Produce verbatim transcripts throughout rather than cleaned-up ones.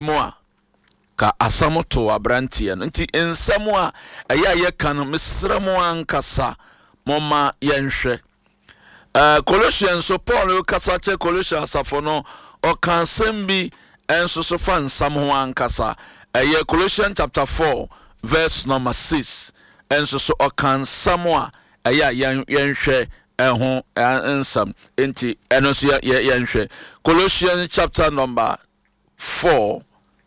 Mu a, ka asɛm to aberanteɛ no. Nti nsɛm a ɛyɛ a yɛka no, mesrɛ mo ankasa, momma yɛnhwɛ. Uh, Colossians so Paul kasa kyerɛ Colossian asafo no, ɔka asɛm bi nso so fa nsɛm ho ankasa. Ɛyɛ Colossians chapter four verse number six. Nso so ɔka nsɛm a ɛyɛ a yɛn yɛnhwɛ ɛho nsɛm. Nti ɛno nso yɛ yɛnhwɛ Colossians chapter number four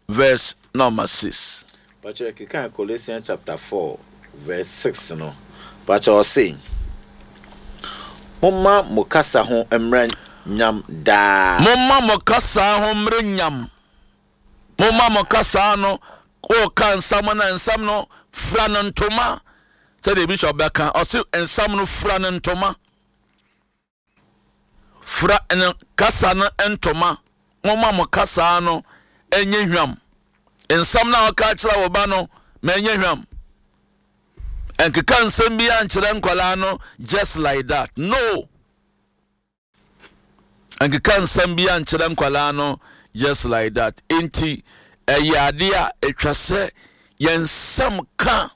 verse number six. Pakyɛ, keka Colossians chapter four verse six no. Pakyɛ, ɔse, "Momma mo kasa ho mmerɛ nyam daa." Momma mo kasa ho mmerɛ nyam. Momma mo kasa no, wɔka nsɛm no, nsɛm no fura no ntoma. Sɛdeɛ bishop bɛka, ɔse nsɛm no fura no ntoma. Fura no kasa no ntoma. Momma mo kasa no ɛnyɛ hwam. Nsɛm no a ɔka kyerɛ wo ba no, ma ɛnyɛ hwam. Ɛnkeka nsɛm bi ankyerɛ nkwadaa no just like that. No. Nkeka nsɛm bi ankyerɛ nkwadaa no just like that. Nti ɛyɛ adeɛ a atwa sɛ yɛn nsɛm ka,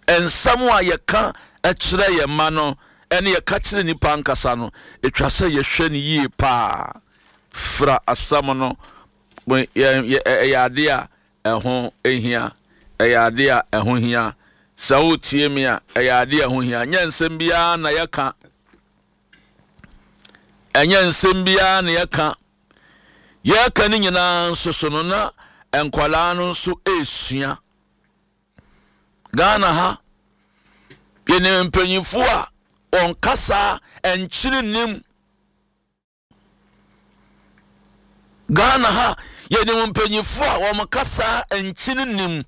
nsɛm a yɛka kyerɛ yɛn mma no ɛne yɛka kyerɛ nipa ankasa no, atwa sɛ yɛhwɛ no yie paa. Fra asɛm no, ɛyɛ adeɛ a ɛho hia. Ɛyɛ adeɛ a ɛho hia. Sɛ wotie mi a, ɛyɛ adeɛ a ɛho hia. Nyɛ nsɛm biara na yɛka. Ɛnyɛ nsɛm biara na yɛka. Yɛka no nyinaa nso so no, na nkwadaa no nso esua. Ghana ha, yɛnim mpanyinfoɔ a wɔn kasa nkyiri nim. Ghana ha, yɛnim mpanyinfoɔ a wɔn kasa nkyiri nim.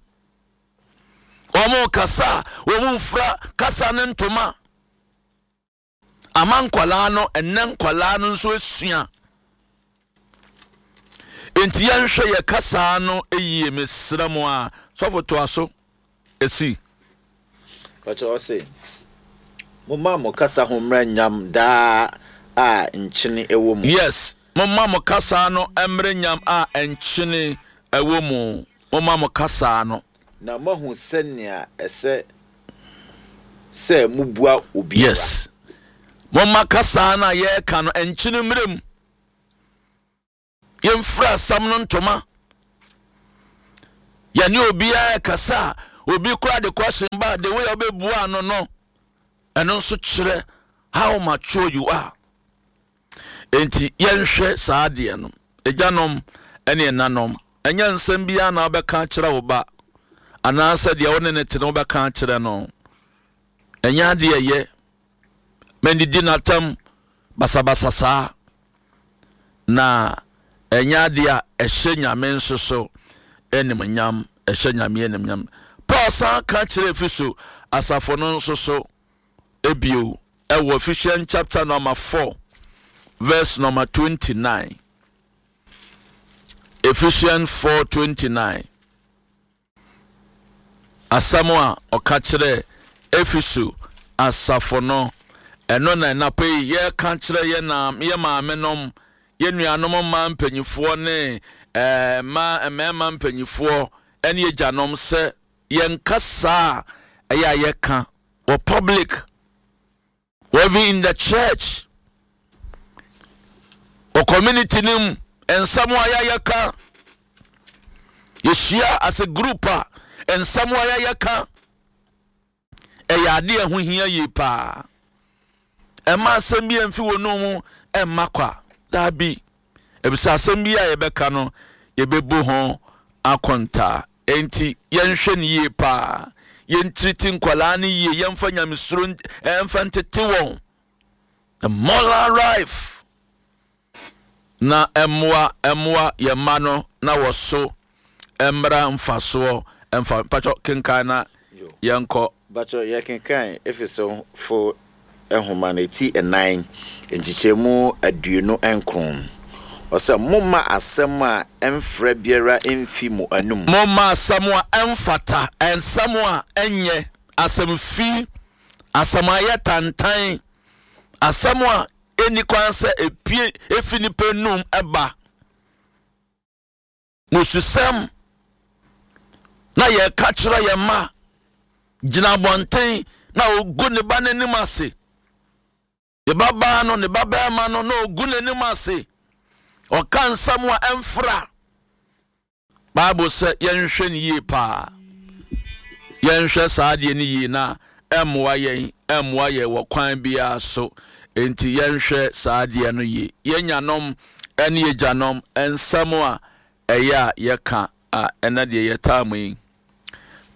Wɔn kasa, wɔn mfra kasa ne ntoma. Ama nkwadaa no, ɛnɛ nkwadaa no nso esua. Nti yɛnhwɛ yɛ kasa no yie, mesrɛ mo a. Sɔfo, toa so esi. Pakyɛ, ɔse, "Momma mo kasa ho mmerɛ nyam daa a nkyene ɛwɔ mu." Yes, momma mo kasa no mmerɛ nyam a nkyene ɛwɔ mu. Momma mo kasa no. Na moahu sɛnea ɛsɛ sɛ mobua obiara. Yes, momma kasa no a yɛreka no nkyene mmerɛ mu. Yɛmfira asɛm no ntoma. Yɛne obiara kasa a, obi kora de question ba, the way a wobɛbua no no ɛno nso kyerɛ how mature you are. Enti yɛnhwɛ saa adeɛ no. Agyanom ne ɛnanom, ɛnyɛ nsɛm biara na wobɛka kyerɛ wo ba anaasɛ deɛ wo ne ne te no wobɛka kyerɛ no. Ɛnyɛ adeɛ ɛyɛ mɛndidi n'atam basabasa saa, na ɛnyɛ adeɛ a ɛhyɛ Nyame nso so animnyam. Ɛhyɛ Nyame animnyam. Paul san ka kyerɛ Efeso asafo no nso so ebio ɛwɔ Ephesians chapter number four verse number twenty-nine. Ephesians four twenty-nine. Asɛm a ɔka kyerɛ Efeso asafo no, ɛno na ɛnapa yi yɛka kyerɛ yɛ na yɛ maame nom, yɛ nuanom mmaa mpanyinfoɔ ne ɛɛ mmaa mmarima mpanyinfoɔ ɛne agyanom sɛ yɛn kasa a ɛyɛ a yɛka wɔ public, wɔ even in the church, wɔ community no mu, nsɛm a yɛayɛka, yɛhyia as a group a, nsɛm a yɛayɛka ɛyɛ adeɛ a ɛho hia yie paa. Ɛma asɛm bi amfi wɔ no mu ɛmma kwa daabi, ebisa asɛm bi a yɛbɛka no, yɛbɛbu ho akontaa. Enti yɛnhwɛ no yie paa. Yɛntiriti nkwalaa no yie. Yɛmfa nyamesuro ɛmfa ntete wɔn, the moral life, na ɛmmoa ɛmmoa yɛn mma no na wɔ so mmra mfasoɔ ɛmfa. Mpatwɔ, kenkan na yɛnkɔ. Bakyɛ, yɛkenkan Efesofo nhoma no ti ɛnan, nkyekyɛmu aduonu nkron. Ɔsɛ, "Momma asɛm a ɛmfra biara mfi mo anum." Momma asɛm a ɛmfata, nsɛm a ɛnyɛ asɛm fi, asɛm a ɛyɛ tantan, asɛm a ɛnni kwan sɛ epie efi nipa num ɛba. Mususɛm na yɛka kyerɛ yɛn mma gyina abɔnten na ogu ne ba n'anim ase, ne ba baa no, ne ba bɛrima no, na ogu n'anim ase, ɔka nsɛm a ɛmfra. Bible sɛ yɛnhwɛ no yie paa, yɛnhwɛ saa adeɛ no yie na ɛmmoa yɛn, ɛmmoa yɛn wɔ kwan biara so. Enti yɛnhwɛ saa adeɛ no yie. Yɛn nyanom ne yɛgyanom, nsɛm a ɛyɛ a yɛka a, ɛna deɛ yɛtaa mu yi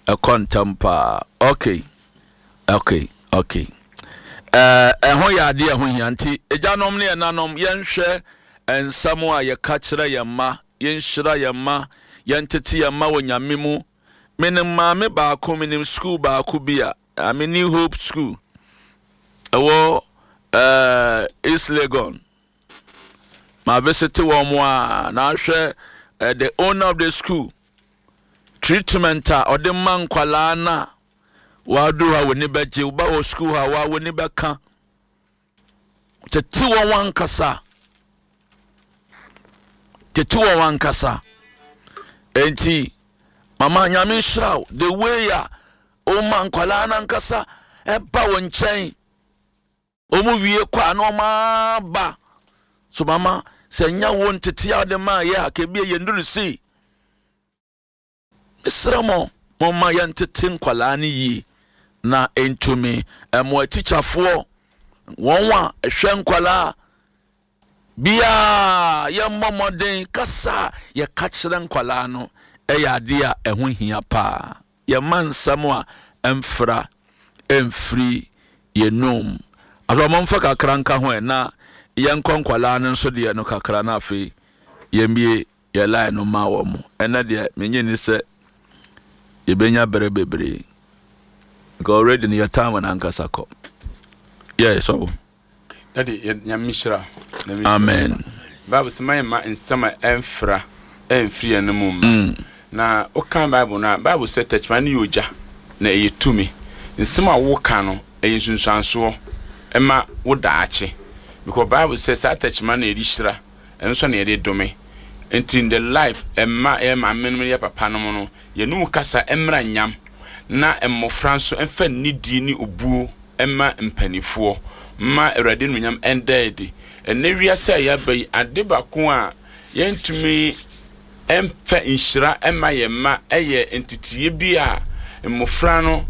ɛkɔ ntɛm paa. okay okay okay ɛɛ ɛho yɛ adeɛ ɛho hia. Nti agyanom ne ɛnanom, yɛnhwɛ nsɛm a yɛka kyerɛ yɛn mma, yɛnhyira yɛn mma, yɛntete yɛn mma wɔ Nyame mu. Menim maame baako, menim school baako bi a ame New Hope School ɛwɔ ɛɛ East Legon. Ma visit wɔn a na ahwɛ uh, the owner of the school, treatment a ɔde ma nkwalaa na waduru ha, w'ani bɛgye. Woba wɔ school ha wa, w'ani bɛka tete wɔn ankasa, tete wɔn ankasa. Enti mama, Nyame nhyira wo, the way a woma nkwalaa no ankasa ɛba wɔn nkyɛn, wɔn wie kɔ a na wɔn aba so. Mama, sɛ nya wo ntete a wode maa yɛ a, kebie yɛnduru sei. Mesrɛ mo, momma yɛntete nkwalaa no yie na ntumi ɛmo atikyafoɔ, wɔn a ɛhwɛ nkwalaa biaa, yɛmmɔ mmɔden kasa a yɛka kyerɛ nkwalaa no ɛyɛ adeɛ a ɛho hia paa. Yɛma nsɛm a ɛmfra ɛmfiri yɛnum. Afei ɔmomfa kakra nka ho ɛ na yɛnkɔ nkwalaa no nso deɛ no kakra, na afei yɛmbie yɛ line no ma wɔ mo. Ɛnɛ deɛ, menye ni sɛ yɛbɛnya berɛ bebree because already no yɛ time no ankasa kɔ yɛ sɔbo. Daddy, yɛ Nyame nhyira. Nyame nhyira. Amen. Bible sɛ mayɛ ma nsɛm a ɛmfra ɛmfiri yɛn no mu mma. Mm. Na woka Bible no a, Bible sɛ tɛkyerɛma no yɛ ogya na ɛyɛ tumi. Nsɛm a woka no ɛyɛ nsunsuansoɔ ɛma wo daakye, because Bible sɛ saa tɛkyerɛma no yɛde hyira, ɛno nso na yɛde dome. Nti in the life ɛma yɛ maame nom, yɛ papa nom no, yɛnum kasa ɛmmra nyam na mmɔfra nso ɛmfa nidie ne obuo ɛma mpanimfoɔ ma Awurade nuonyam ɛnda adi. Ɛnɛ wiase a yɛaba yi, ade baako a yɛntumi ɛmfa nhyira ɛma yɛn mma ɛyɛ nteteyɛ bi a mmɔfra no.